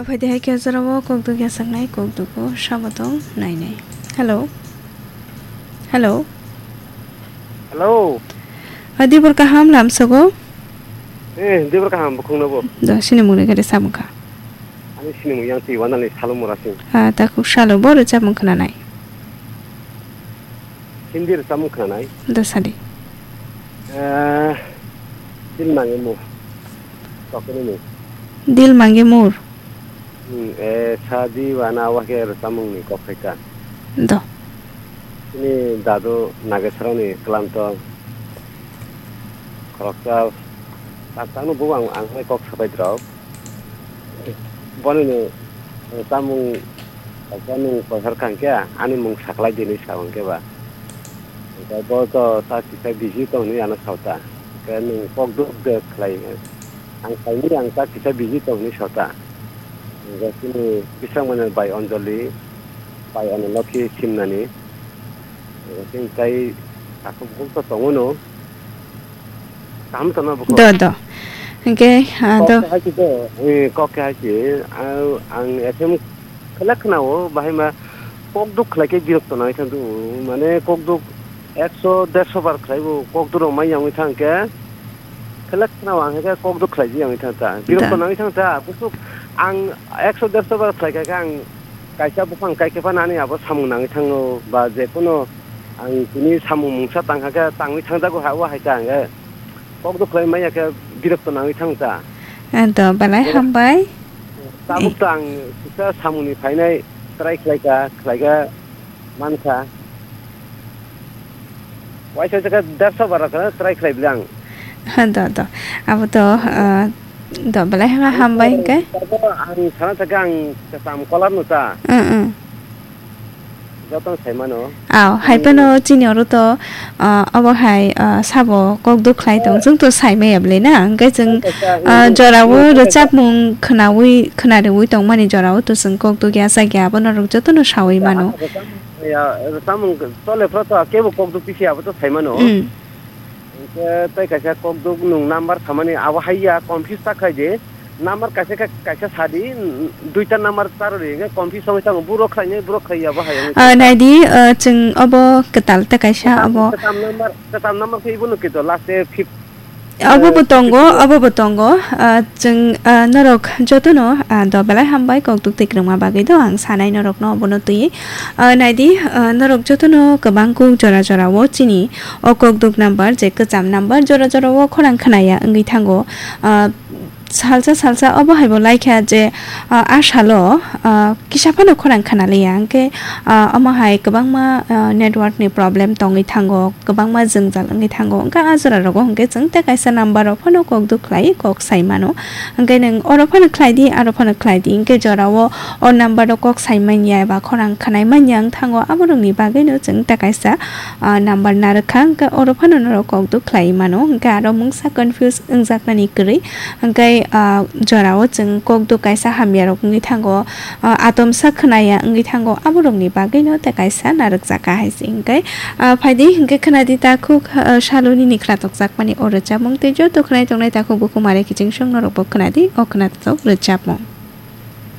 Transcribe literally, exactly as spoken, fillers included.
Phaidi hai khe jorao kokduk yasaknai, kokduk o sabo tong nainai. Hello. Hello. Hello. Adi bor kaham lamsogo. Eh, dibor kaham bukhung no bo. Do sini mungni gari samung kha. Ani sini mung yang ti wana ni salo mora sing. Ah, ta kuk salo bo rwchapmung khna nai. Hindi rwchapmung khna nai. Do sadi. Eh, dil mange mo. Tokoni mo. Dil mange mur. Hmm, eh, sadi wana wa khe rwchapmung ni kok khaika. Do. Ini dadu Nageswrani klanto khoroksa tak takno bo ang, ang hai kok sabai drop. Boni ni, eh, chamung kaisa nung koithar kha hwnkhe ani mung saklai di hinwi sa hwnkhe ba. Hwnkhe bo to ta kisa busy tong hinwi ano sa ta. Hwnkhe nung kok duk de khlai. Ang saimani ang ta kisa busy tong hinwi sa ta. Hwnkhe chini bisingmani bai Anjali, bai Anulokhi simnani. Hwnkhe chini tai takhuk bukhuk to tongo no. Kaham tongna bukhuk. Do, do. Hwnkhe, ah, do. Kok khe hai se do, eh, kok khe hai se, ah, ang F M khlai khna-o, bahai ma kok duk khlai khe birok tongna thang du, mane kok duk ekso, derso bar khlai bo kok duk rok mai yang thang khe, khlai khna-o ang khe kok duk khlai ji yang thang ta. Birok tongna thang ta, bukhuk ang ekso, derso bar khlai kha khe ang kaisa buphang kai khe phano ani abo samung nangwi thango, ba je kuno ang tini samung mungsa tang kha khe tangwi thangjago ha, o hai ta ang khe kok duk khlai maya khe birok to nangwi thang ta. Eh, do belai hambai. Tabuk to ang kisa samungni phainai try khlai kha, khlai kha man kha. Waisa jaka derso bara kha try khlai bwle ang. Ha, do, do. Abo to, ah, do, belai ha hambai hwnkhe. Abo ang sana jaka ang kesam kolar no ta. Mm, mm. Joto sai mano. Aw, hai phano chini oro to, ah, abo hai, ah, sabo kok duk khlai tong, chwng to sai maya bwle na, hwnkhe chwng, ah, jorao rwchapmung khnawi, khna rwui tongmani jorao to chwng kok duk ya chak ya, abono rok jotono saui mano. Ya, rwchapmung chole phro to kebo kok duk pisi abo to sai mano. Mm. Hwnkhe tei kaisa kok duk nwng number samani abo hai ya confuse ta khai di. Number kaisa khe kaisa sa di, duita number charo ri hwnkhe confuse wngwi thango. Buro khlainai, buro khlai ya bo hai wngwi thango. Ah, nai di, ah, chwng obo kwtal ta kaisa obo. Kwtam number, kwtam number khe ibo no kito last day fifth. Obo bo tongo, obo bo tongo. Ah, chwng, ah, norok jotono, ah, do belai hambai kok duk twi kwrwngma bagwi do ang sanai norokno obono twi. Ah, naidi, ah, norok jotono kwbang kuk jora jora o chini o kok duk number je kwcham number jora jora o khorang khwnaya wngwi thango. Ah, salsa salsa obo hai bo laikha je, ah, a salo, ah, kisa phano khorang khwnaliya hwnkhe, ah, omo hai kwbangma, ah, network ni problem tongwi thango. Kwbangma jwngjal wngwi thango, wngkha a jora rogo hwnkhe chwng tei kaisa number rok phano kok duk khlai kok sai mano, hwnkhe nwng oro phano khlai di, aro phano khlai di, hwnkhe jorao o number rok kok sai manya eba khorang khwnai manya wng thango, abo rokni bagwino chwng tei kaisa, ah, number narwkha, hwnkhe oro phano norok kok duk khlai mano, hwnkhe aro mungsa confuse wngjaknani kwrwi, hwnkhe, ah, jorao chwng kok duk kaisa hamya rok wngwi thango, ah, atomsa khwnaya wngwi thango, abo rokni bagwino tei kaisa narwkjaka hai se hwnkhe. Ah, phaidi hwnkhe khwnadi takhuk, ah, saloni ni khwnatok jakmani o rwchapmung tei joto khwnai tongnai takhuk bukhuk mare kiching song norokbo khwnadi o khwnatok rwchapmung.